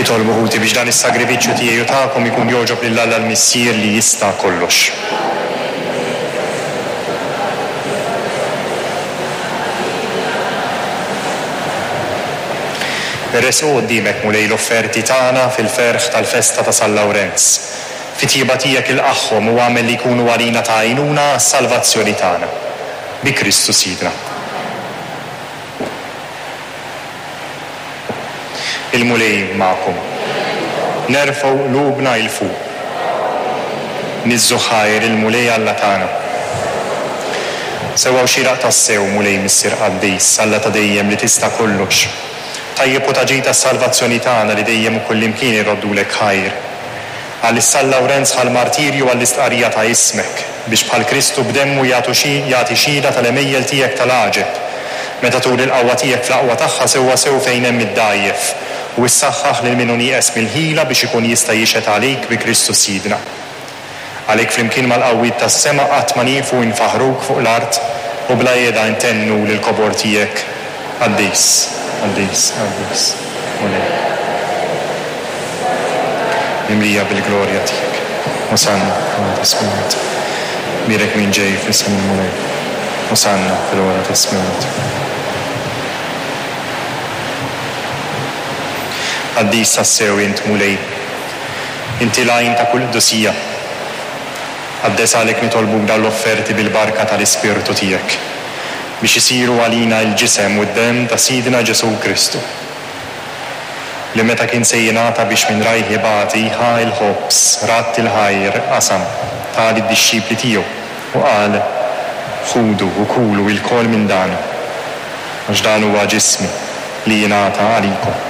Itolbu ħuti biex dan is-sagrifiċċju tiegħi u tagħkom ikun jogħġob lil Alla l-Missier li jista' kollox. Iressqu quddiemek, Mulej, l-offerti tagħna fil-ferħ tal-festa ta' San Lawrenz. Fit-tjieba tiegħek ilqagħhom u agħmel li jkunu għalina ta' għajnuna għas-salvazzjoni tagħna. Bi Kristu Sidna. Il-Mulej magħkom. Nerfgħu qlubna 'il fuq. Niżżu ħajr il-Mulej Alla tagħna. Sewwa u xieraq tassew, Mulej Missier qaddis, Alla ta' dejjem li tista' kollox. Tajjeb u ta' ġid għas-salvazzjoni tagħna li dejjem u kullimkien irroddulek ħajr. Għal San Lawrenz ħa l-martirju għall-istqarrija ta' ismek, biex bħal Kristu b'demmu jagħtu xi jagħti xhieda tal-għemejjel tiegħek tal-għaġeb, meta turi l-qawwa tiegħek fl-aqwa tagħha sewwasew fejn hemm id-dgħajjef, u ssaħħaħ lil min hu nieqes mill-ħila biex ikun jista' jixhed għalik bi Kristu Sidna. Għalhekk flimkien mal-qawwiet tas-sema qatt ma nieqfu infaħħruk fuq l-art u bla qiegħda intennu lill-kobor tiegħek, Qaddis, qaddis, qaddis, Mulej. Mimlija bil-glorja tiegħek. Osanna fl-ogħla tas-smewwiet. Bierek min ġej f'isem il-Mulej. Osanna fil-ogħla tas-smewwiet. Qaddis tassew int, Mulej. Inti l-għajn ta' kull qdusija. Qaddes għalhekk nitolbuk dawn l-offerti bil-barka tal-Ispirtu tiegħek, biex isiru għalina l-ġisem u d-demm ta' Sidna Ġesù Kristu, li meta kien se jingħata biex minn rajh ibati, ħa l-ħobż, radd il-ħajr, qasam, ta lid-dixxipli tiegħu, u qal, Ħudu u kulu ilkoll minn dan, għax dan huwa ġismi li jingħata għalikom.